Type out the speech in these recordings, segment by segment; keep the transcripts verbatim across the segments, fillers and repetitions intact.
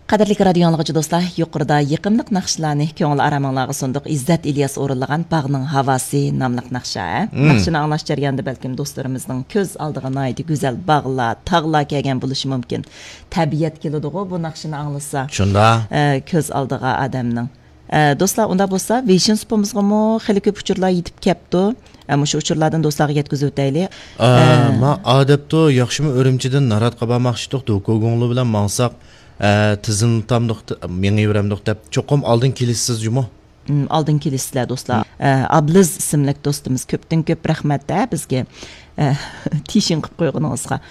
قەدىرلىك رادىيو ئاڭلىغۇچى دوستلار، يۇقىرىدا يېقىملىق ناخشىلارنى كۆڭۈل ئارامىڭلارغا سۇندۇق. ئىززەت ئىلياس ئورۇنلىغان باغنىڭ ھاۋاسى ناملىق ناخشا، ھە؟ مم. ناخشىنى ئاڭلاش جەريانىدا بەلكىم دوستلىرىمىزنىڭ كۆز ئالدىغا ناھايىتى گۈزەل باغلار، تاغلار كەلگەن بولۇشى مۇمكىن. تەبىئەت كېلىدىغۇ بۇ ناخشىنى ئاڭلىسا. شۇنداق. ئە، كۆز ئالدىغا ئادەمنىڭ. ئە، دوستلار، ئۇنداق بولسا، ۋېيشىن سۇپىمىزغىمۇ خېلى كۆپ ئۇچۇرلار يېتىپ كەپتۇ. ئە، مۇشۇ ئۇچۇرلاردىن دوستلارغا يەتكۈزۈۋېتەيلى. ئا، ئە، ما ئادەپتۇ، ياخشىمۇ ئۈرۈمچىدىن ناراتقا بارماقچىدۇق، دوكۇگۇڭلۇ بىلەن ماڭساق، ئە، تىزىملىتامدۇق، مېڭىۋېرەمدۇق دەپ، چوقۇم ئالدىن كېلىسىز جۇمۇ. م، ئالدىن كېلىسىزلەر، دوستلار. ئە، ئابلىز ئىسىملىك دوستىمىز كۆپتىن كۆپ رەھمەت، ھە، بىزگە، ئە، تىشىڭ قىلىپ قويغىنىڭىزغا.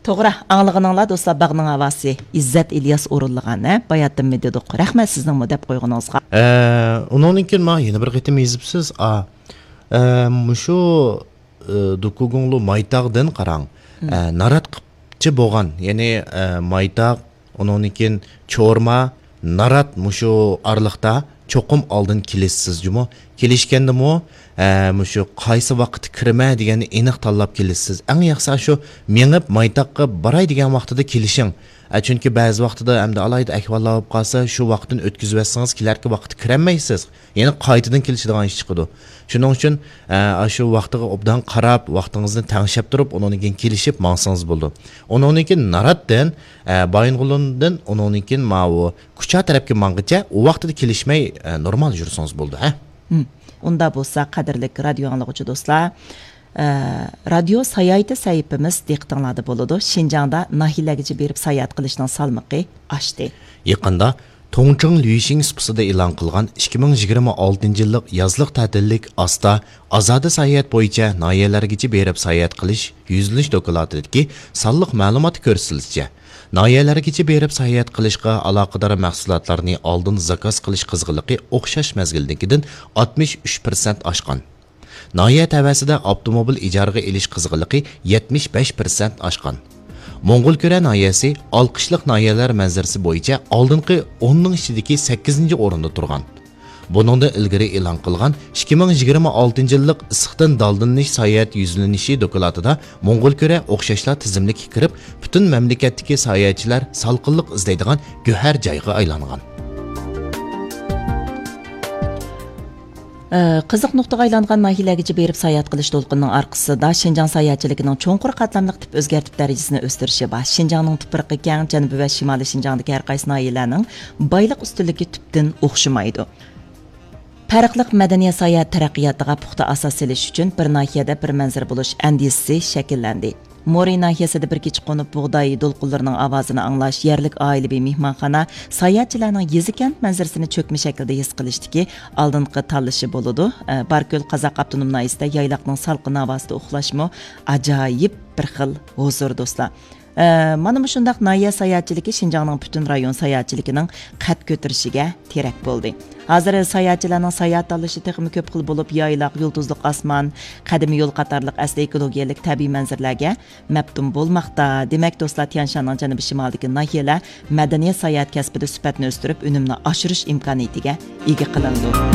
توغرا، ئاڭلىغىنىڭلار دوستلار، باغنىڭ ھاۋاسى، ئىززەت ئىلياس ئورۇنلىغان، ھە، باياتىنمۇ دېدۇق. رەھمەت سىزنىڭمۇ دەپ قويغىنىڭىزغا. ئە، ئۇنىڭدىن كېيىن ماڭا يەنە بىر قېتىم يېزىپسىز. ئا، ئە، مۇشۇ، ئە، دوكۇگۇڭلۇ مايتاغدىن قاراڭ. مم. ئە، ناراتقىچە بولغان، يەنى، ئە، مايتاغ، ئۇنىڭدىن كېيىن چورما، نارات مۇشۇ ئارىلىقتا چوقۇم ئالدىن كېلىسىز جۇمۇ. كېلىشكەندىمۇ، ئە، مۇشۇ قايسى ۋاقىتتا كىرىمەن دېگەننى ئېنىق تاللاپ كېلىسىز. ئەڭ ياخشىسى شۇ مېڭىپ مايتاققا باراي دېگەن ۋاقتىدا كېلىشىڭ. ئە، چۈنكى بەزى ۋاقتىدا ئەمدى ئالاھىدە ئەھۋاللار بولۇپ قالسا، شۇ ۋاقىتتىن ئۆتكۈزۈۋەتسىڭىز، كېلەركى ۋاقىتتا كىرەلمەيسىز. يەنە قايتىدىن كېلىشىدىغان ئىش چىقىدۇ. شۇنىڭ ئۈچۈن، ئە، ئاشۇ ۋاقتىغا ئوبدان قاراپ، ۋاقتىڭىزنى تەڭشەپ تۇرۇپ، ئۇنىڭدىن كېيىن كېلىشىپ ماڭسىڭىز بولىدۇ. ئۇنىڭدىن كېيىن ناراتتىن، ئە، بايىنغولىندىن، ئۇنىڭدىن كېيىن ماۋۇ كۇچا تەرەپكە ماڭغىچە ئۇ ۋاقتىدا كېلىشمەي، ئە، نورمال يۈرسىڭىز بولىدۇ، ھە؟ ھىم. ئۇنداق بولسا، قەدىرلىك رادىيو ئاڭلىغۇچى دوستلار، ئە، رادىيو ساياھىتى سەھىپىمىز دىققىتىڭلاردا بولىدۇ. شىنجاڭدا ناھىيەلەرگىچە بېرىپ ساياھەت قىلىشنىڭ سالمىقى ئاشتى. يېقىندا توڭچىڭ لۈيشىڭ سۇپىسىدا ئېلان قىلغان ئىككى مىڭ يىگىرمە ئالتىنچى يىللىق يازلىق تەتىللىك ئاستا ئازادە ساياھەت بويىچە ناھىيەلەرگىچە بېرىپ ساياھەت قىلىش يۈزلىنىش دوكلاتىدىكى سانلىق مەلۇماتتا كۆرسىتىلىشىچە، ناھىيەلەرگىچە بېرىپ ساياھەت قىلىشقا ئالاقىدار مەھسۇلاتلارنى ئالدىن زاكاز قىلىش قىزغىنلىقى ئوخشاش مەزگىلدىكىدىن ئاتمىش ئۈچ پىرسەنت ئاشقان. ناھىيە تەۋەسىدە ئاپتوموبىل ئىجارىگە ئېلىش قىزغىنلىقى يەتمىش بەش پىرسەنت ئاشقان. موڭغۇلكۈرە ناھىيەسى ئالقىشلىق ناھىيەلەر مەنزىرىسى بويىچە ئالدىنقى ئوننىڭ ئىچىدىكى سەككىزىنچى ئورۇندا تۇرغان. بۇنىڭدىن ئىلگىرى ئېلان قىلغان ئىككى مىڭ يىگىرمە ئالتىنچى يىللىق ئىسسىقتىن دالدىلىنىش ساياھەت يۈزلىنىشى دوكلاتىدا موڭغۇلكۈرە ئوخشاشلا تىزىملىككە كىرىپ، پۈتۈن مەملىكەتتىكى ساياھەتچىلەر سالقىنلىق ئىزدەيدىغان گۆھەر جايغا ئايلانغان. ئە، قىزىق نۇقتىغا ئايلانغان ناھىيەلەرگىچە بېرىپ ساياھەت قىلىش دولقۇنىنىڭ ئارقىسىدا شىنجاڭ ساياھەتچىلىكىنىڭ چوڭقۇر قاتلاملىق تىپ ئۆزگەرتىپ دەرىجىسىنى ئۆستۈرۈشى بار. شىنجاڭنىڭ تۇپرىقى كەڭ، جەنۇبىي ۋە شىمالىي شىنجاڭدىكى ھەر قايسى ناھىيەلەرنىڭ بايلىق ئۈستۈنلۈكى تۈپتىن ئوخشىمايدۇ. پەرقلىق مەدەنىيەت ساياھەت تەرەققىياتىغا پۇختا ئاساس سېلىش ئۈچۈن بىر ناھىيەدە بىر مەنزىرە بولۇش ئەندىزىسى شەكىللەندى. مورى ناھىيەسىدە بىر كېچە قونۇپ، بۇغداي دولقۇنلىرىنىڭ ئاۋازىنى ئاڭلاش، يەرلىك ئائىلىۋى مېھمانخانا ساياھەتچىلەرنىڭ يېزا-كەنت مەنزىرىسىنى چۆكمە شەكىلدە ھېس قىلىشتىكى ئالدىنقى تاللىشى بولىدۇ. ئە، باركۆل قازاق ئاپتونوم ناھىيەسىدە يايلاقنىڭ سالقىن ھاۋاسىدا ئۇخلاشمۇ ئاجايىپ بىر خىل ھۇزۇر، دوستلار. ئە، مانا مۇشۇنداق ناھىيە ساياھەتچىلىكى شىنجاڭنىڭ پۈتۈن رايون ساياھەتچىلىكىنىڭ قەد كۆتۈرۈشىگە تىرەك بولدى. ھازىر ساياھەتچىلەرنىڭ ساياھەت تاللىشى تېخىمۇ كۆپ خىل بولۇپ، يايلاق، يۇلتۇزلۇق ئاسمان، قەدىمىي يول قاتارلىق ئەسلى ئېكولوگىيەلىك تەبىئىي مەنزىرىلەرگە مەپتۇن بولماقتا. دېمەك، دوستلار، تيەنشاننىڭ جەنۇبىي شىمالىدىكى ناھىيەلەر مەدەنىيەت ساياھەت كەسپىدە سۈپەتنى ئۆستۈرۈپ، ئۈنۈمنى ئاشۇرۇش ئىمكانىيىتىگە ئىگە قىلىنىدۇ.